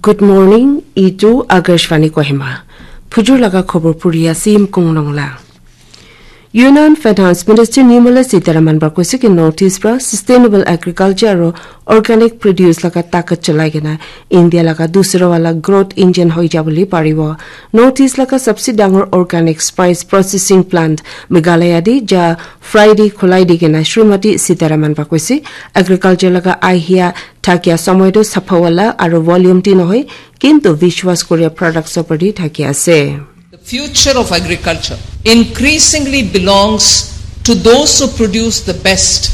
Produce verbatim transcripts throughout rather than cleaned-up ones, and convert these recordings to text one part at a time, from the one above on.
Good morning, itu Akashvani Kohima. Phujur laga khobor puri ase Yimkung Nongla. Union Finance Minister Nirmala Sitharaman ba koise ki North East pra sustainable agriculture aro organic produce laga takat cholai kena India laga dusra wala growth engine hoi ja bole paribo. North East laga sabse dangor organic spice processing plant Meghalaya de ja Friday khulai di kena Srimati Sitharaman ba koise agriculture laga ahia thakia samoi tu sapha wala aro volume ti nohoi, kintu vishwas koria products opor di thaki ase. The future of agriculture increasingly belongs to those who produce the best,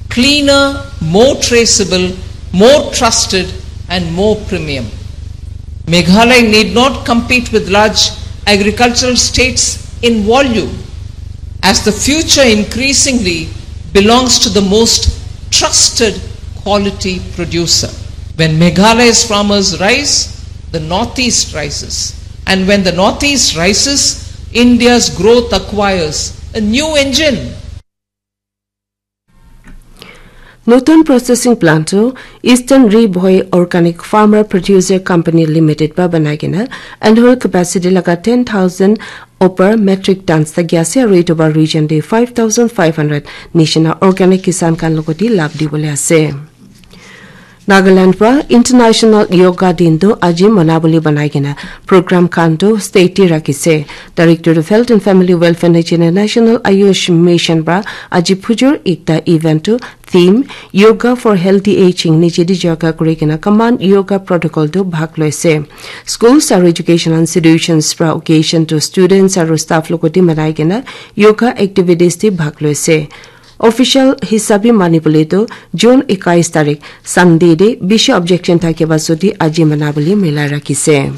cleaner, more traceable, more trusted, and more premium. Meghalaya need not compete with large agricultural states in volume, as the future increasingly belongs to the most trusted quality producer. When Meghalaya's farmers rise, the Northeast rises. And when the Northeast rises, India's growth acquires a new engine. Notun processing plant tu Eastern Ri Bhoi Organic Farmer Producer Company Limited ba banai kena annual capacity laga ten thousand upper metric tons tagi ase aro etu ba region de five thousand five hundred nishina organic kisan khan logoti labh dibole ase. Nagaland pra International Yoga Din tu aji manabole banai kena program khan tu state te rakhi se. Director of Health and Family Welfare niche na National Ayush Mission pra aji phujur ekta event tu theme Yoga for Healthy Aging niche di jaga kuri kena command yoga protocol tu bhag loise. Schools aro educational institutions pra occasion tu students aro staff logoti manai kena yoga activities di bhag loise. Official hisabi mani bole tu June ekais tarik Sunday de bishi objection thake ba soti aji manabole milai rakhi se.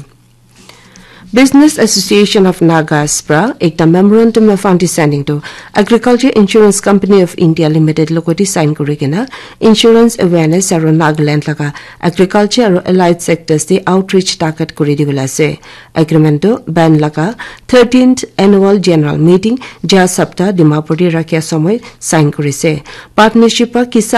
Business Association of Nagas pra ekta memorandum of understanding tu Agriculture Insurance Company of India Limited logoti sign kuri kena insurance awareness aro Nagaland laga agriculture aro allied sectors de outreach target kuri dibole ase. Agreement tu ban laga thirteenth annual general meeting ja sapta Dimapur de rakhia samoi sign kuri se. Partnership pa kisan